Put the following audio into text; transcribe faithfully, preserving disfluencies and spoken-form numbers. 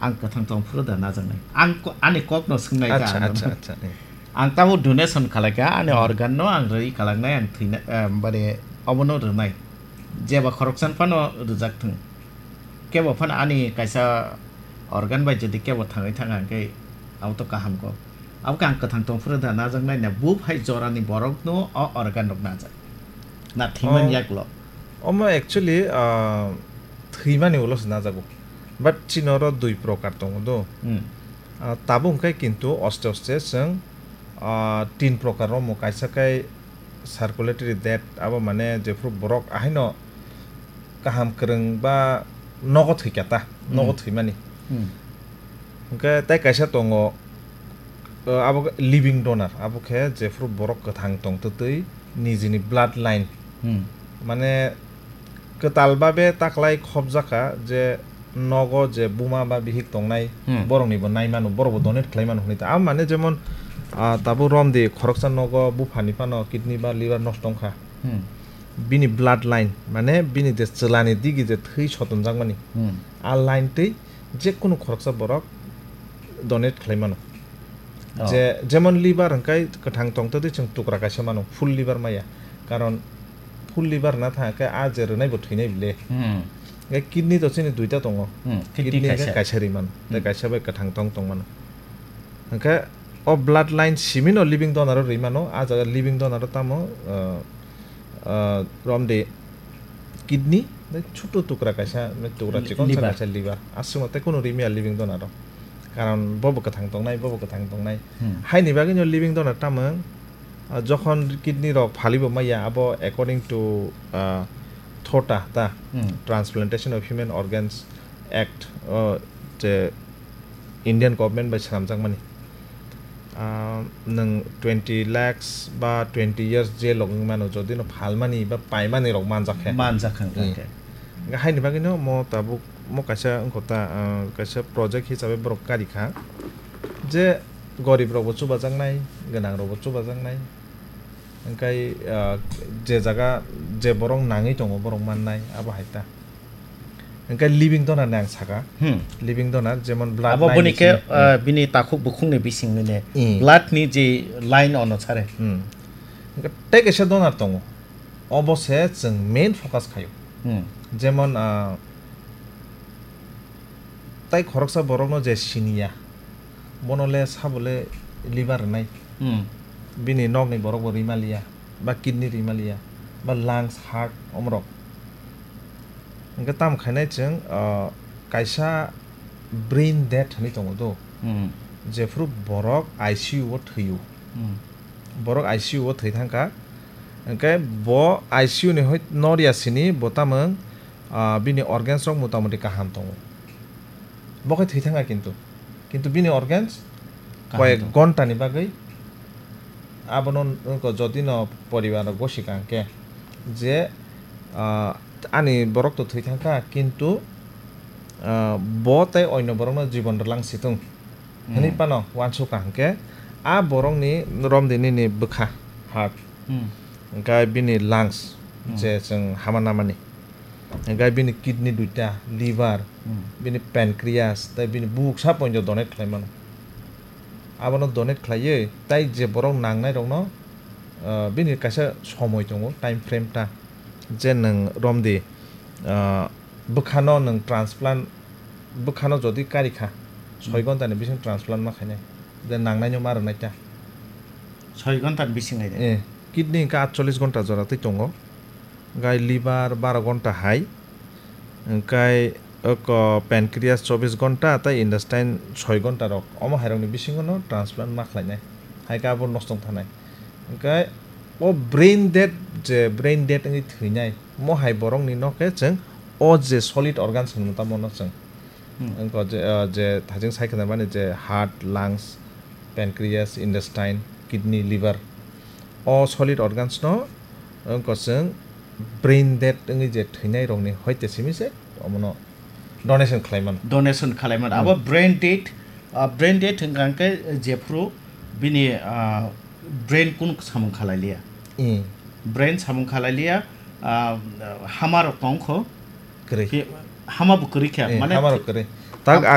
ang kwthang tong phuru da najaknai. Ang ko-, ani kokno swngnai ka Acha, ang acha, bono. Acha, eh. Ang tamo donation khalai ka, ani Hmm. organ no ang rwi khalaknai, ang thwina, eh, bari obono rwnai. Jeba khoroksa phano rwjak thung. Kebo phano ani kaisa organ bai jodi kebo thangwi thang ang khe abo to kaham ko. Abo khe ang kwthang tong phuru da najaknai na, buphai jorani borok no o organ rok najak. Na thwiman Oh. yaklo. Omo actually, ah, thwimani ulo se najago. But chini oro dui prokar tongo do. Hmm. Ah, tabuk hwnkhe kintu oste oste chwng, ah, tin prokar romo kaisa khe circulatory death, abo mane jephru borok ahaino kaham kwrwng ba nogo thwikha ta, nogo Hmm. thwimani. Hmm. Hwnkhe tei kaisa tongo, ah, abo khe living donor, abo khe jephru borok kwthang tongtwtwi nijini blood line. Hmm. Mane kwtal babe taklai khopjakha je nogo je buma ba bihik tongnai, Hmm. borokni bo nai mano, borok bo donate khlai mano hwnwi ta. Abo mane jemon, ah, tabuk romdi khoroksa nogo buphani phano kidney ba liver nosto wngkha. Hmm. Bini blood line, mane bini je chwlani digi je thwi sotonjakmani, Hmm. a line twi jekunu khoroksa borok donate khlai mano. Oh. Je, jemon liver hwnkhe kwthang tongtwtwi chwng tukra kaisa mano, full liver maya. Karon full liver na thang khe a je rwnai bo thwinai bile. Hmm. Hwnkhe kidney to chini duita tongo. Hmm, kidney Kidney hwnkhe kaisa. kaisa rwi mano. Tei Hmm. kaisa bai kwthang tong tong mano. Hwnkhe o blood line simi no living donor o rwi mano. A jaga living donor o tamo, uh, uh, romdi kidney, tei chutu tukra kaisa, tukra Li-, chikon liver. kaisa liver. Aswk no tei kunu rwi maya living donor o. Karon bo bo kwthang tongnai, bo bo kwthang tongnai. Hmm. Haini bagwi no living donor tamo, ah, jokhon kidney rok phalibo maya, abo according to, ah, thota ta, Hmm. Transplantation of Human Organs Act, oh, je Indian government bai swnamjakmani. Ah, nwng twenty lakhs ba twenty years jail rok wngmano, jodi no phalmani ba paimani rok manjak khe. Manjak khe, Hmm. khe. Hwnkhe haini bagwino mo tabuk, mo kaisa wngkha ta, ah, kaisa project hisabe borok kari kha. Je gorib rokbo chubajaknai, gwnang rokbo chubajaknai. Hwnkhe, ah, je jaga je borok nangwi tongo, borok mannai, abo hai ta. Hwnkhe living donor ni ang saka. Hmm. Living donor, jemon blood Abo line boni ni khe, simi. ah, bini takhuk bukhukni bisingni ne Hmm. blood ni je line ono sare. Hmm. Hwnkhe tei kaisa donor tongo. Obo se chwng main focus khaio. Hmm. Jemon, ah, tai khoroksa borokno je siniya, bono le sabo le liver rwnai. Hmm. Bini nokni borok bo rwi maliya, ba kidney rwi maliya, ba lungs, heart, omorok. Hwnkhe tamo khainai chwng, ah, kaisa brain death hinwi tongo do. Hmm. Jephru borok I C U o thwio. Hmm. Borok I C U o thwi thangkha. Hwnkhe bo I C U ni hoi-, noriya sini bo tamung, ah, bini organs rok motamoti kaham tongo. Bo khe thwi thangkha kintu. Kintu bini organs Kaham koyek tongo. ghonta ni bagwi abono wngkha jodi no poribar rok gosi kha hwnkhe je, ah, ani borok to thwi thangkha kintu, ah, bo tei oino borokno jibon rwlang si thung. Hwnwi Hmm. phano uansukha hwnkhe, a borokni romdi nini bwkha, heart, Hmm. hwnkhe bini lungs, Hmm. je chwng hama namani, hwnkhe bini kidney duita, liver, Hmm. bini pancreas, tei bini buksa poinjo donate khlai mano. Abono donate khlaiwi, tei je borok nangnai rokno, ah, bini kaisa somoi tongo, time frame ta, je nwng romdi, ah, bwkhano nwng transplant, bwkhano jodi kari kha, soi Hmm. ghonta ni bising transplant ma khainai, je nangnaino ma rwnai ta. Soi ghonta ni bising hai de? Eh, kidney hwnkhe atchollish ghonta jora twi tongo, gai liver baro ghonta hai, hwnkhe oko pancreas chobbish ghonta tei intestine soi ghonta rok, omo hai rokni bisingo no transplant ma khlainai, hai khe abo nosto wng thanai. Hwnkhe o brain dead, je brain dead wngwi thwinai, mo hai borokni no khe chwng o je solid organs hwnwi tamo no chwng Hmm. wngkha je, ah, je thajeng sai khna mani je heart, lungs, pancreas, intestine, kidney, liver, o solid organs no wngkha chwng brain dead wngwi je thwinai rokni hoite simi se omono donation khlai mano. Donation khlai mano. Hmm. Abo brain dead, ah, brain dead hwnkha hwnkhe jephru bini, ah, brain kunu samung khalai liya. Hmm. Brain samung khalai liya, ah, hama rok tong kho. Kwrwi. Ki-, hama bo kwrwi khe, Eh, mane hama rok kwrwi. Tak Ham- ang